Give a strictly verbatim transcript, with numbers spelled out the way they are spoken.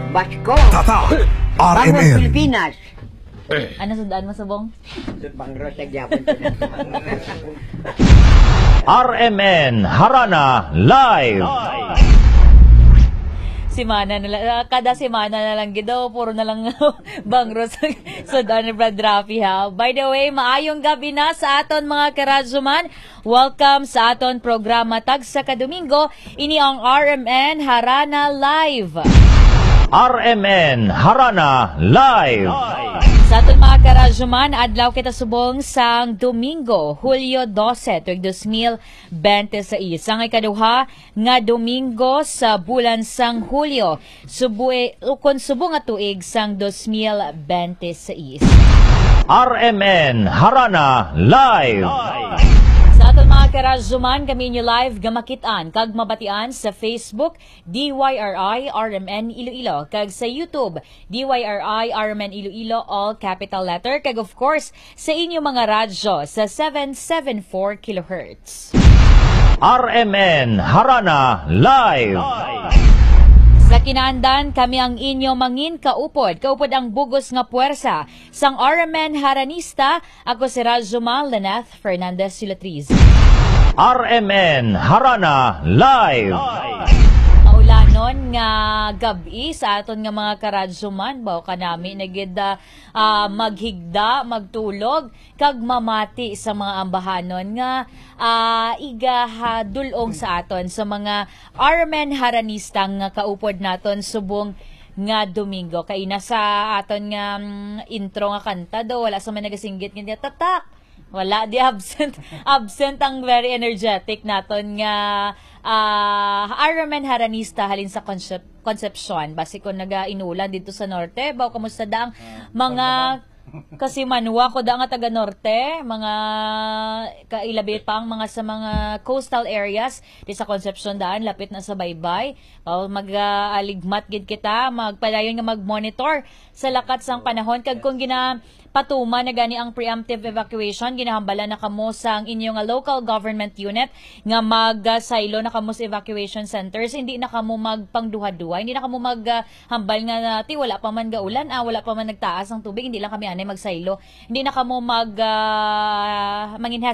Basko. Tatak. Bangos R M N. Pilipinas. Ano sundaan mo, Subong? Bangros sa gyapon. R M N Harana Live. Semana na lang, ah, kada semana na lang gid daw, puro na lang bangros. So, Don Brad Rafi, ha. By the way, maayong gabi na sa aton mga karadyoman. Welcome sa aton programa tagsa ka Domingo. Ini ang R M N Harana Live. R M N Harana Live. Sa aton mga karadyoman, adlaw kita subong sang Domingo, Hulyo dose, tuig dos mil bente seis. Ang ikaduha nga Domingo sa bulan sang Hulyo, subue, ukon subong nga tuig sang dos mil bente seis. R M N Harana Live. Sa aton mga karadyoman, kami inyo live nga makit-an kag mabatian sa Facebook, D Y R I R M N Iloilo, kag sa YouTube, D Y R I R M N Iloilo, all capital letter, kag of course, sa inyo mga radyo sa seven seven four kilohertz. R M N Harana Live. Sa kinaandan, kami ang inyo mangin kaupod, kaupod ang bugos nga puwersa sang R M N Haranista. Ako si Radyo Mal Lynette Fernandez Sulatriz. R M N Harana Live. Maulanon nga gab-i sa aton nga mga karadyoman, baw kanami na gid, ah, ah, maghigda, magtulog, kag mamati sa mga ambahanon nga, ah, igahadulong sa aton sa mga R M N Haranista nga kaupod naton subong nga Domingo. Kay na sa aton nga, mm, intro nga kanta do, wala sa may nagasinggit nga tatak. Wala di absent. Absent ang very energetic naton nga, ah, R M N Haranista halin sa Concep-, Concepcion. Basi kung nagainulan dito sa norte, baw kamusta da ang mga kasimanwa ko da nga taga norte, mga kailabi pa ang mga sa mga coastal areas di sa Concepcion daan, lapit na sa baybay. Baw mag-, ah, aligmat gid kita, magpadayon nga mag-monitor sa lakat sang panahon. Kag kung gina-, patuman na gani ang preemptive evacuation, ginahambalan na kamo sang inyo nga local government unit nga magsaylo na kamo sa evacuation centers. Hindi na kamo magpangduha-duha, hindi na kamo mag, ah, hambal nga, ah, "Ti, wala pa man gaulan, ah, wala pa man nagtaas ang tubig, hindi lang kami anay magsaylo." Hindi na kamo mag, ah, mangin